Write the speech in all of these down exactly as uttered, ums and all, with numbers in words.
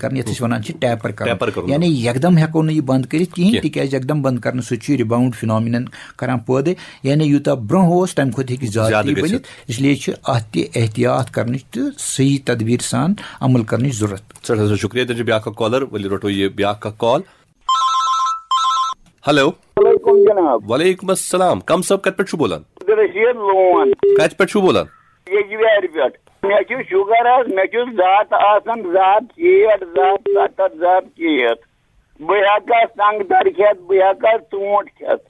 کران، یتھ أسۍ ونان چھِ ٹیپر کرُن۔ ٹیپر کرُن۔ یعنی یکدم ہٮ۪کو نہٕ یہِ بنٛد کٔرِتھ کِہیٖنۍ، کینٛہہ۔ تِکیازِ یکدم بنٛد کرنہٕ سۭتۍ چھُ رِباؤنڈ فِنامِنن کران پٲدٕ۔ یعنی یوٗتاہ برونٛہہ اوس، تَمہِ کھۄتہٕ ہیٚکہِ زیادٕ زیادٕ تہِ گٔژھِتھ۔ بٔنِتھ۔ اس لیے چھِ اتھ تہِ احتیاط کرنٕچ تہٕ صحیح تدبیر سان عمل کرنٕچ ضروٗرت۔ سٮ۪ٹھاہ سٮ۪ٹھاہ شُکریہ۔ تیٚلہِ چھُ بیٛاکھ اکھ کالر، ؤلِو رٹو یہِ بیٛاکھ اکھ کال۔ ہیلو۔ وعلیکم جناب۔ وعلیکم السلام۔ کم صٲب، کتہِ پٮ۪ٹھ چھُو بولان؟ عبدالرشید لون۔ کتہِ پٮ۪ٹھ چھُو بولان؟ یجبیارِ پٮ۪ٹھ۔ مےٚ چھُ شُگر حظ، مےٚ چھُ زٕ ہتھ آسان، زٕ ہتھ شیٹھ، زٕ ہتھ ستتھ، زٕ ہتھ شیٹھ۔ بہٕ ہٮ۪کا سنٛگتر کھٮ۪تھ، بہٕ ہٮ۪کا ژوٗنٛٹھ کھٮ۪تھ،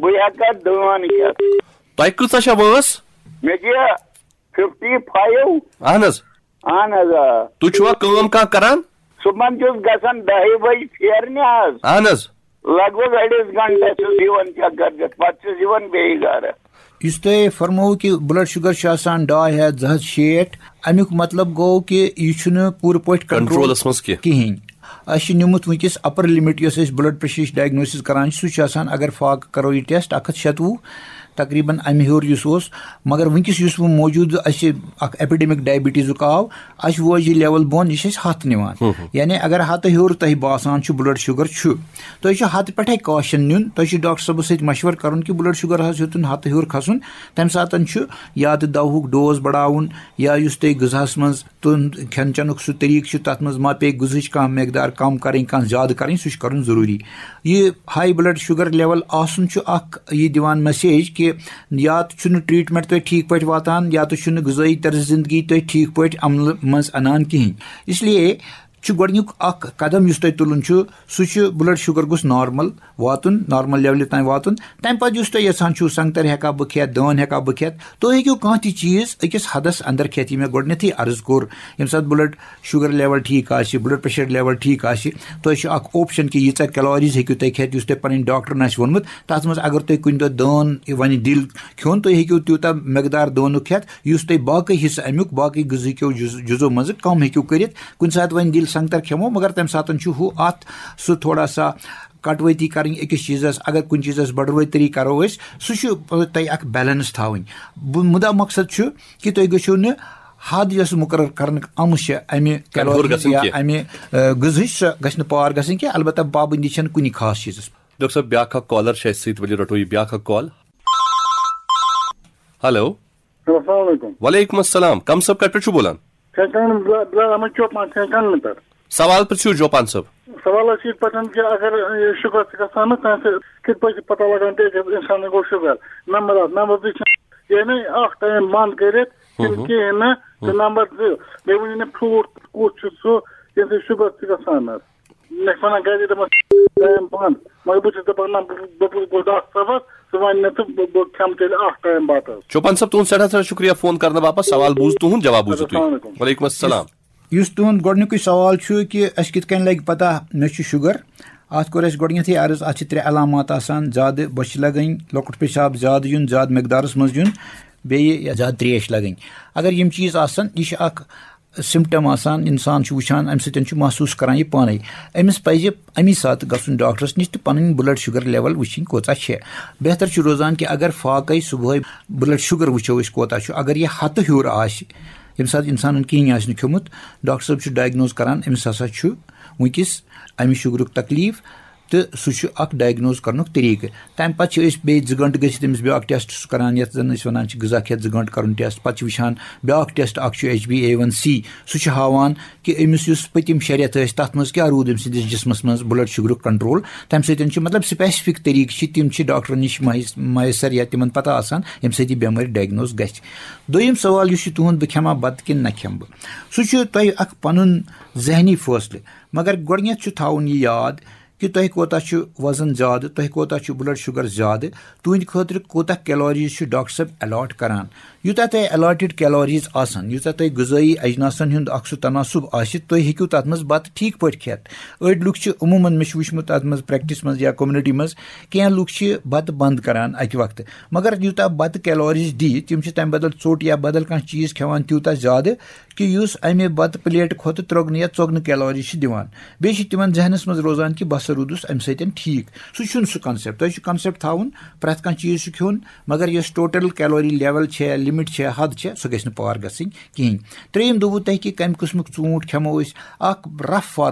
بہٕ ہٮ۪کا دٲن کھٮ۪تھ۔ تۄہہِ کۭژاہ چھےٚ وٲنٛس؟ مےٚ چھِ ففٹی فایو۔ اہن حظ۔ اہن حظ، آ۔ تُہۍ چھُوا کٲم کانٛہہ کران؟ صُبحن چھُس گژھان دَہہِ بجہِ پھیرنہِ حظ۔ اہن حظ۔ لگ بگ أڑِس گھنٹس چھُس یِوان چکر دِتھ، پتہٕ چھُس یِوان بیٚیہِ گرٕ۔ یُس تۄہہِ فرمووُ کہِ بلڈ شُگر چھُ آسان ڈاے ہتھ، زٕ ہتھ شیٹھ، اَمیُک مطلب گوٚو کہِ یہِ چھُنہٕ پوٗرٕ پٲٹھۍ کنٹرول۔ کنٹرولس منٛز کینٛہہ۔ کِہیٖنۍ۔ اَسہِ چھُ نیوٗمُت وٕنکیٚس اپر لمٹ، یۄس أسۍ بلڈ پریشرٕچ ڈائگنوسس کران چھِ، سُہ چھُ آسان، اگر فاقہٕ کرو یہِ ٹیسٹ، اکھ ہتھ شیٚتوُہ، تقریباً امہِ ہیوٚر یُس اوس۔ مگر وٕنکیٚس یُس وۄنۍ موجودٕ اَسہِ اکھ ایپیڈیمک ڈائبٹیزُک آو، اَسہِ ووج یہِ لیول بۄن، یہِ چھِ أسۍ ہتھ نِوان۔ ہُم ہُم۔ یعنی اگر ہتہٕ ہیوٚر تۄہہِ باسان چھُ بلڈ شُگر چھُ، تۄہہِ چھُ ہتہٕ پٮ۪ٹھے کاشن نیُن، تۄہہِ چھُ ڈاکٹر صٲبس سۭتۍ مشورٕ کرُن کہِ بلڈ شُگر حظ ہیوٚتُن ہتہٕ ہیوٚر کھسُن، تمہِ ساتن چھُ یا تہٕ دوہُک ڈوز بڑاوُن، یا یُس تۄہہِ غذاہس منٛز تُہُنٛد کھٮ۪ن چٮ۪نُک سُہ طریٖقہٕ چھُ، تتھ منٛز ما پیٚیہِ غذہٕچ کانٛہہ مقدار کم کرٕنۍ، کانٛہہ زیادٕ کرٕنۍ، سُہ چھُ کرُن ضروٗری۔ یہِ ہاے بلڈ شُگر لیول آسُن چھُ اکھ یہِ دِوان میسیج کہِ یا تہٕ چھُنہٕ ٹریٹمنٹ تۄہہِ ٹھیٖک پٲٹھۍ واتان، یا تہٕ چھُنہٕ غذٲیی طرز زندگی تۄہہِ ٹھیٖک پٲٹھۍ عملہٕ منٛز انان کِہیٖنۍ۔ اس لیے چھُ گۄڈٕنیُک اکھ قدم یُس تۄہہِ تُلُن چھُ، سُہ چھُ بلڈ شُگر گوٚژھ نارمل واتُن، نارمل لیولہِ تام واتُن۔ تمہِ پتہٕ یُس تُہۍ یژھان چھِو، سنگتر ہیٚکا بہٕ کھٮ۪تھ، دٲن ہیٚکا بہٕ کھٮ۪تھ، تُہۍ ہیٚکِو کانٛہہ تہِ چیٖز أکِس حدس اندر کھٮ۪تھ، یہِ مےٚ گۄڈٕنیتھٕے عرض کوٚر۔ ییٚمہِ ساتہٕ بلڈ شُگر لیول ٹھیٖک آسہِ، بلڈ پریشر لیول ٹھیٖک آسہِ، تۄہہِ چھُ اکھ آپشن کہِ ییٖژاہ کیلوریز ہیٚکِو تُہۍ کھٮ۪تھ، یُس تۄہہِ پنٕنۍ ڈاکٹرن آسہِ ووٚنمُت۔ تتھ منٛز اگر تُہۍ کُنہِ دۄہ دٲن وۄنۍ دِل کھیوٚن، تُہۍ ہیٚکِو تیوٗتاہ مقدار دٲنُک کھٮ۪تھ، یُس تۄہہِ باقٕے حصہٕ امیُک، باقٕے غذہٕکیو جُز-، جُزو منٛزٕ کم ہیٚکِو کٔرِتھ۔ کُنہِ ساتہٕ وۄنۍ دِل سنگتر کھٮ۪مو، مگر تمہِ ساتہٕ چھُ ہُہ اتھ سُہ تھوڑا سا کٹوٲتی کرٕنۍ أکِس چیٖزس۔ اگر کُنہِ چیٖزس بڑوٲتری کرو أسۍ، سُہ چھُ تۄہہِ اکھ بیلنس تھاوٕنۍ۔ بہٕ، مُدا مقصد چھُ کہِ تُہۍ گٔژھِو نہٕ حد یۄس مقرر کرنہٕ آمٕژ چھِ امہِ کنٹرول کیلوری گژھٕنۍ یا کینٛہہ۔ امہِ، آ، غذہٕچ، سۄ گژھِ نہٕ پار گژھٕنۍ کینٛہہ۔ البتہ پابندی چھنہٕ کُنہِ خاص چیٖزس پٮ۪ٹھ۔ ڈاکٹر صٲب، بیٛاکھ اکھ کالر چھِ اَسہِ سۭتۍ، ؤلِو رٹو یہِ بیٛاکھ اکھ کال۔ ہیلو۔ السلام علیکم۔ وعلیکم السلام۔ کم صٲب، کتہِ پٮ۪ٹھ چھِو بولان؟ کھٮ۪ن چٮ۪ن بلا-، بلا احمد چوپان، کھٮ۪ن چٮ۪ن نہٕ پٮ۪ٹھ۔ سوال پرٛژھِو چوپان صٲب۔ سوال ٲس یِتھ پٲٹھۍ کہِ اگر یہِ شُگر چھِ گژھان نہ، تَمہِ سۭتۍ کِتھ پٲٹھۍ چھِ پتہ لگان تہِ أکِس اِنسانَس گوٚو شُگر؟ نمبر اکھ۔ نمبر زٕ چھِ یعنی اکھ ٹایم بنٛد کٔرِتھ ہُم کِنہٕ ہُم۔ کِہیٖنۍ نہٕ۔ تہٕ ہُم۔ نمبر زٕ، بیٚیہِ ؤنِو مےٚ فروٗٹ کُس چھُ سُہ، ییٚمہِ سۭتۍ شُگر چھِ گژھان حظ؟ مےٚ چھِ وَنان گَرِ دَپان ٹایم بنٛد، مگر بہٕ چھُس دَپان نہ، بہٕ، بہٕ، بہٕ گوٚو ڈاکٹر صٲبَس، ژٕ وَن مےٚ تہٕ بہٕ، بہٕ کھٮ۪مہٕ تیٚلہِ اَکھ ٹایم بَتہٕ حظ۔ چوپان صٲب، تُہُنٛد سٮ۪ٹھاہ سٮ۪ٹھاہ شُکریہ فون کرنہٕ باپتھ۔ سوال بوٗز تُہُنٛد، جواب بوٗزِو اَدٕ تُہۍ۔ السلام علیکم۔ وعلیکم السلام۔ یُس تُہُنٛد گۄڈٕنیُکُے سوال چھُ کہِ اَسہِ کِتھ کٔنۍ لَگہِ پَتہ مےٚ چھُ شُگر، اَتھ کوٚر اَسہِ گۄڈٕنٮ۪تھٕے عرض، اَتھ چھِ ترٛےٚ علامات آسان، زیادٕ بۄچھِ لَگٕنۍ، لۄکُٹ پیشاب زیادٕ یُن، زیادٕ مقدارَس منٛز یُن، بیٚیہِ زیادٕ ترٛیش لَگٕنۍ۔ اگر یِم چیٖز آسَن، یہِ چھِ اَکھ سِمپٹم آسان، اِنسان چھُ وٕچھان، اَمہِ سۭتۍ چھُ محسوٗس کران یہِ پانَے۔ أمِس پَزِ اَمی ساتہٕ گژھُن ڈاکٹرَس نِش تہٕ پَنٕنۍ بلڈ شُگر لیول وٕچھِنۍ کۭژاہ چھےٚ۔ بہتر چھُ روزان کہِ اگر فاقَے صُبحٲے بلڈ شُگر وٕچھو أسۍ کوٗتاہ چھُ، اگر یہِ ہَتہٕ ہیوٚر آسہِ، ییٚمہِ ساتہٕ اِنسانَن کِہیٖنۍ آسہِ نہٕ کھیوٚمُت، ڈاکٹر صٲب چھُ ڈائگنوز کران، أمِس ہسا چھُ وٕنکیٚس اَمہِ شُگرُک تکلیٖف، تہٕ سُہ چھُ اکھ ڈائگنوز کرنُک طریٖقہٕ۔ تَمہِ پتہٕ چھِ أسۍ بیٚیہِ زٕ گھنٹہٕ گٔژھِتھ أمِس بیٛاکھ ٹیسٹ سُہ کران، یَتھ زَن أسۍ وَنان چھِ غذا کھٮ۪تھ زٕ گھنٹہٕ کرُن ٹیسٹ۔ پَتہٕ چھِ وٕچھان بیٛاکھ ٹیسٹ اکھ چھُ H B A one C, سُہ چھُ ہاوان کہِ أمِس یُس پٔتِم شےٚ رٮ۪تھ ٲسۍ، تَتھ منٛز کیٛاہ روٗد أمۍ سٕنٛدِس جسمس منٛز بلڈ شُگرُک کنٹرول۔ تَمہِ سۭتۍ چھُ، مطلب، سپیسفک طریٖقہٕ چھِ، تِم چھِ ڈاکٹرن نِش مہیس-، میسر یا تِمن پتہ آسان، ییٚمہِ سۭتۍ یہِ بٮ۪مٲرۍ ڈائگنوز گژھِ۔ دوٚیِم سوال یُس چھُ تُہُنٛد، بہٕ کھٮ۪ما بتہٕ کِنہٕ نہ کھٮ۪مہٕ بہٕ، سُہ چھُ تۄہہِ اکھ پنُن ذہنی فٲصلہٕ۔ مگر گۄڈٕنیتھ چھُ تھاوُن یہِ یاد کہِ تۄہہِ کوتاہ چھُ وزن زیادٕ، تۄہہِ کوتاہ چھُ بلڈ شُگر زیادٕ، تُہنٛدِ خٲطرٕ کوتاہ کیلوریز چھُ ڈاکٹر صٲب الاٹ کران۔ یوٗتاہ تۄہہِ الاٹڈ کیلوریز آسن، یوٗتاہ تۄہہِ غذٲیی اجناسن ہُنٛد اکھ سُہ تناسب آسہِ، تُہۍ ہیٚکِو تتھ منٛز بتہٕ ٹھیٖک پٲٹھۍ کھٮ۪تھ۔ أڑۍ لُکھ چھِ عموٗماً، مےٚ چھُ وٕچھمُت اتھ منٛز پریکٹس منٛز یا کمیونٹی منٛز، کینٛہہ لُکھ چھِ بتہٕ بنٛد کران اکہِ وقتہٕ، مگر یوٗتاہ بتہٕ کیلوریز دِیہِ، تِم چھِ تمہِ بدل ژوٚٹ یا بدل کانٛہہ چیٖز کھٮ۪وان تیوٗتاہ زیادٕ، کہِ یُس اَمہِ بتہٕ پلیٹ کھۄتہٕ ترٛۄگنہٕ یا ژۄگنہٕ کیلوری چھِ دِوان۔ بیٚیہِ چھِ تِمن ذہنس منٛز روزان کہِ بہٕ ہسا روٗدُس اَمہِ سۭتۍ ٹھیٖک۔ سُہ چھُنہٕ سُہ concept۔ تۄہہِ چھُ concept تھاوُن، پرٛٮ۪تھ کانٛہہ چیٖز چھُ کھیوٚن، مگر یۄس total calorie level چھےٚ، limit چھےٚ، حد چھےٚ، سۄ گژھِ نہٕ پار گژھٕنۍ کِہیٖنۍ۔ ترٛیٚیِم دوٚپوُ تۄہہِ کہِ کَمہِ قٕسمُک ژوٗنٛٹھ کھٮ۪مو أسۍ۔ اکھ rough